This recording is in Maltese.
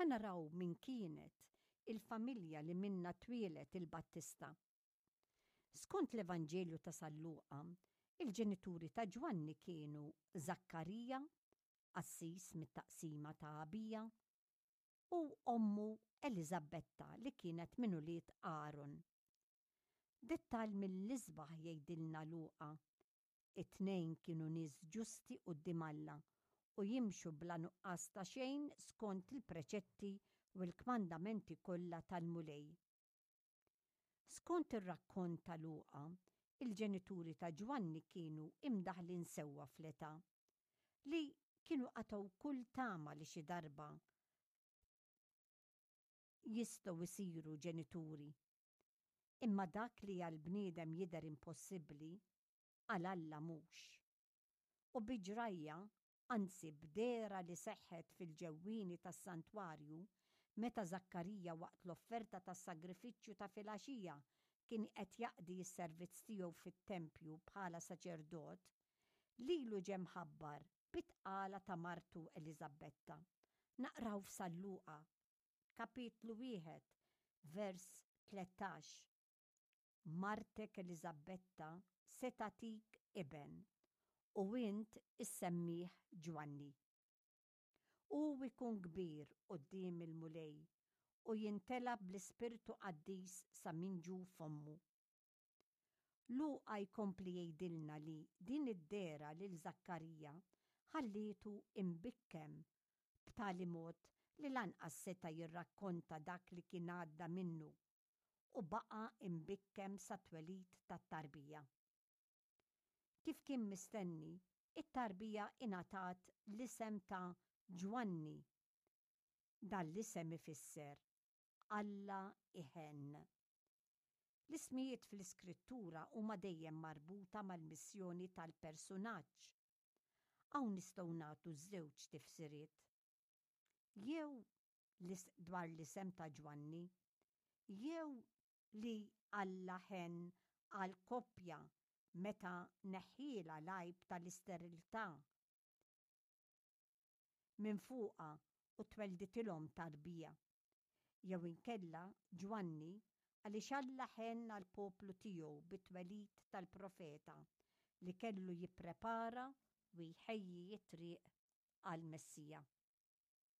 Ħa naraw min kienet il-familja li minnha twieled il-Battista. Skont l-Evanġelju ta' San Luqa, il-ġenituri ta' Ġwanni kienu Żakkarija, qassis mit-taqsima ta' Abija, u ommu Eliżabetta li kienet minn ulied Aron. Dettall mill-isbaħ jgħidilna Luqa It-tnejn kienu nies ġusti quddiem Alla u jimxu bla nuqqas ta' xejn skont il-preċetti u l-kmandamenti kollha tal-Mulej. Skont ir-rakkont ta' Luqa, il-ġenituri ta' Ġwanni kienu imdaħħlin sewwa fl-età, li kienu qatgħu kull tama li xi darba jistgħu jsiru ġenituri. Imma dak li għall-bniedem jidher impossibbli, għal Alla mhux. U bi ġrajja, anzi b'dehra li seħħet fil-ġewwieni tas-santwarju, meta Żakkarija waqt l-offerta tas-sagrifiċċju ta' filgħaxija kien qed jaqdi s-servizz tiegħu fit-tempju bħala saċerdot, lilu ġie mħabbar bit-tqala ta' martu Eliżabbetta. Naqraw f'San Luqa, kapitlu wieħed, vers 13, Martek Eliżabbetta se tagħtik iben, u int issemmih Ġwanni. Hu jkun kbir quddiem il-Mulej u jimtela bl-Ispirtu Qaddis sa minn ġuf ommu. Luqa jkompli jgħidilna li din id-dehra lil Żakkarija ħallietu imbikkem b'tali mod li lanqas seta' jirrakkonta dak li kien għadda minnu u baqa' imbikkem sat-twelid tat-tarbija. Kif kien mistenni, it-tarbija ingħatat l-isem ta' Ġwanni. Dan l-isem ifisser Alla iħenn. L-ismijiet fl-Iskrittura huma dejjem marbuta mal-missjoni tal-persunaġġ. Hawn nistgħu nagħtu żewġ tifsiriet. Jew dwar l-isem ta' Ġwanni, jew li Alla ħenn għall-koppja meta neħħielha l-għajb tal-isteriltà minn fuqha u twelditilhom tarbija. Jew inkella Ġwanni għaliex Alla ħenn għall-poplu tiegħu bit-twelid tal-profeta li kellu jipprepara u jħejji t-triq għall-Messija.